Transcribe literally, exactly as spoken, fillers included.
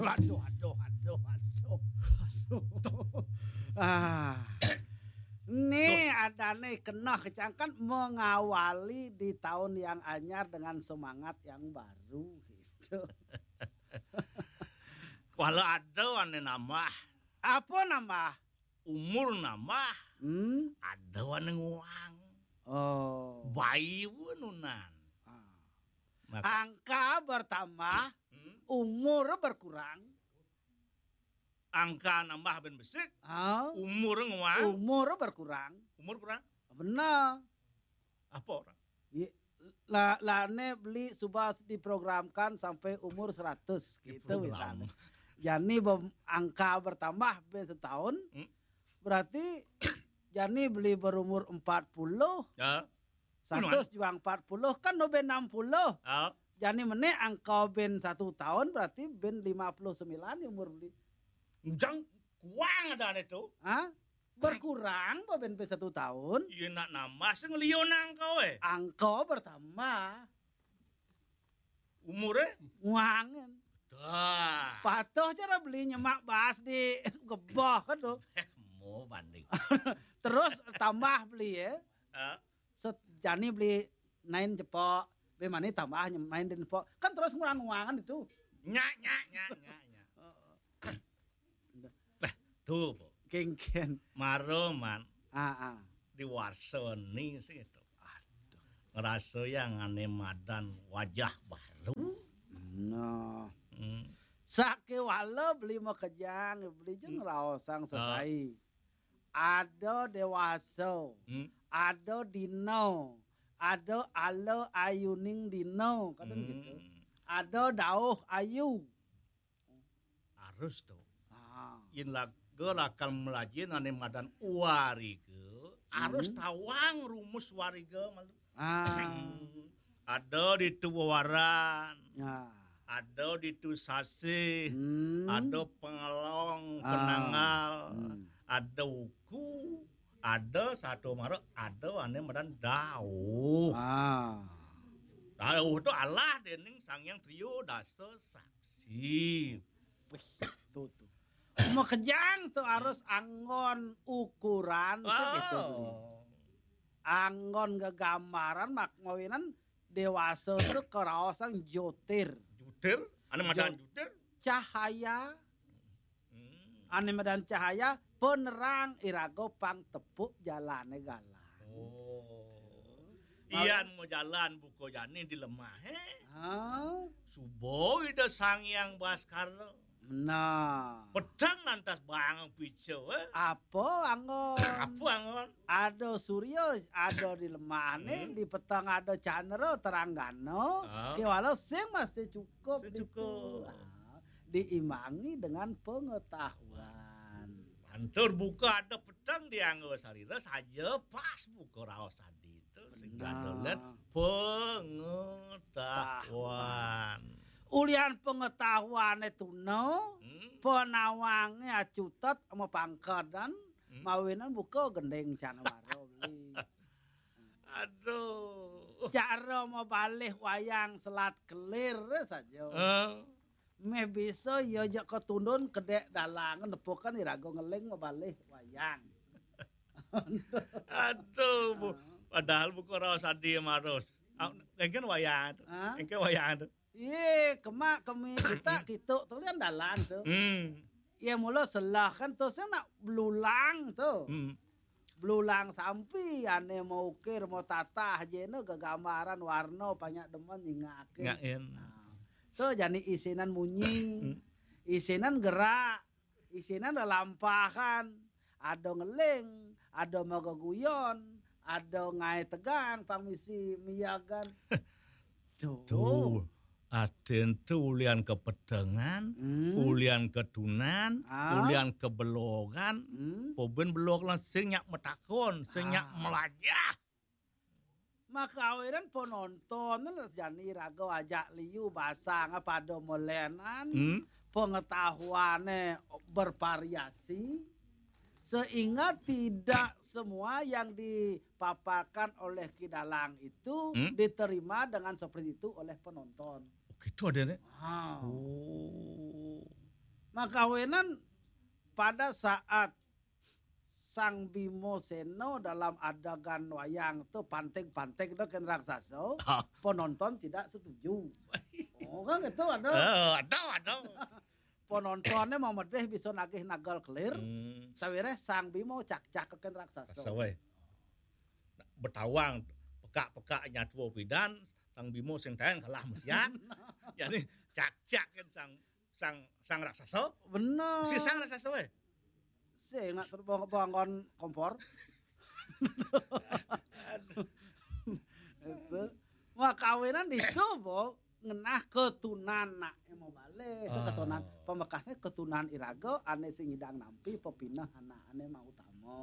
Aduh, aduh, aduh, aduh, aduh. Ah. Nih, adané keneh cangkan mengawali di tahun yang anyar dengan semangat yang baru gitu. Kalau ada ané nambah. Apa nambah? Umur nambah. Hmm? Ada ané nguang. Oh. Bayi nunan. Ah. Maka angka bertambah, hmm? Umur berkurang. Angka nambah ben besik, ah? Umur nguang. Umur berkurang. Umur kurang? Benar. Apa orang? Ye, la, lane beli suba diprogramkan sampai umur seratus gitu. Diprogram. Misalnya. Jani bem, angka bertambah ben setahun, hmm? Berarti jani beli berumur empat puluh. Ya. Seratus juga empat puluh, kan no ben enam puluh. Ya. Jani menek angka ben satu tahun, berarti ben lima puluh sembilan umur beli. Ujang kuang ada itu. Hah? Berkurang apa ben, ben satu tahun? Iya, nak nambah sing liyo nang kowe. Angka bertambah. Umure? Nguangen. Dah. Patuh cara beli nyemak bas di gebah kan tuh. Eh, mau banding. Terus tambah beli ya. Hah? Set, jani beli nain cepok. Be mani tambah nyem-, main den cepok. Kan terus ngurang nguangan itu. Nyak, nyak, nyak, nyak, nyak. Heeh. Lah, tuh, Bu. Kengken. Maro, man. Ah, ah. Di warsoni sih itu. Aduh. Ngerasa yang aneh madan wajah baru. Nah. Hmm. Sake wala beli makejang, beli je, hmm, ngeraosang, ah, sesai. Ada dewasa, hmm, ada dino, ada ala ayuning dino, kadang, hmm, gitu. Ada dauh ayu. Harus tuh. Ah. Yen laga lakal melajin ane madan wariga, harus, hmm, tawang rumus wariga malu. Ah. Ada ditu wewaran. Ya. Ada ditu sasih. Hmm. Ada pengelong, ah, penanggal. Hmm. Ada uku. Ada satu mara, ada ane madan dauh. Ah. Dauh tu alah dening Sang Hyang Triyo Dasa Saksi. Wih, tuh, tuh. Makejang tuh harus anggon ukuran segitu. Oh. Anggon gegambaran mak mawinan dewasa tuh keraosan jotir. Jutir? Ane madan jo-, jutir? Cahaya. Hmm. Ane madan cahaya, penerang iraga pang tepuk jalane galang. Oh. Mau iyan mau jalan buka jani di lemahe. Hah? Suba Ida Sang Hyang Baskara. Nah. Peteng lantas bang pica, eh. Apa anggon? Apa anggon? Ada surya, ada di lemahne, hmm, di peteng ada candra teranggana, ah, kewala sing masih cukup. Sing ditu. Cukup. Ah, diimbangi dengan pengetahuan. Pantur buka ada peteng dianggo sarira saja pas buka raos adi. Itu sing, benar, Gadolan pengetahuan. Ulian pengetahuane tuna, hmm, penawange acutet ama pangkedan, hmm, mawinan buka gending canwara beli. Aduh. Cara mabalih wayang selat kelir saja. Eh. Meh bisa ya jak ketundun kedek dalangan nepukan iraga ngeling mabalih wayang. Aduh, Bu. Ah. Padahal buka raos adi marus. Ah, engken wayang tu. Ah? Engken wayang tu. Iye, kemak kemi kita kituk tu lian dalan tu. Hmm. Iye mula selah kan tu sing nak belulang tu. Hmm. Belulang sampi ane mau ukir, mau tatah jena gegambaran warna banyak demen nyingake. Ngain. Nah, tu jani isinan munyi, hmm, isinan gerak, isinan lelampahan, ada ngeling, ada magaguyon, ada ngai tegang, pang misi miyagan. Tuh. Tuh, aden tuh ulian kepetengan, hmm, ulian ketunan, ah, ulian kebelogan, hmm, poben belog lan sing nyak metakon, sing nyak, ah, melajah. Makawinan penonton jani raga ajak liu basang pada melenan, hmm, pengetahuannya bervariasi sehingga tidak semua yang dipaparkan oleh Ki Dalang itu, hmm, diterima dengan seperti itu oleh penonton. Oh, gitu ada nih. Ah. Oh. Makawinan pada saat Sang Bimo Seno dalam adegan wayang tu pantig-pantig dah kén raksasa, Ah. penonton tidak setuju. Oh kan gitu ada. Eh, ada, ada. Penontonnya mau medih bisa nagih nagal kelir. Hmm. Sawiréh Sang Bimo cak-cak kén raksasa. Raksasa wéh. Betawang pekak-pekak nyatua pidan, Sang Bimo sing taén kalah mesiat. Jadi cak-cak kan sang sang sang raksasa. Bener. Si sang raksasa wéh. Sing nak terbang-terbang kompor. Itu. Makawinan ditu, Bo, ngenah ketunan nak mau balik Ah. ketunan pamekasné ketunan iraga ané sing ngidang nampi pepineh anak ané mau utama.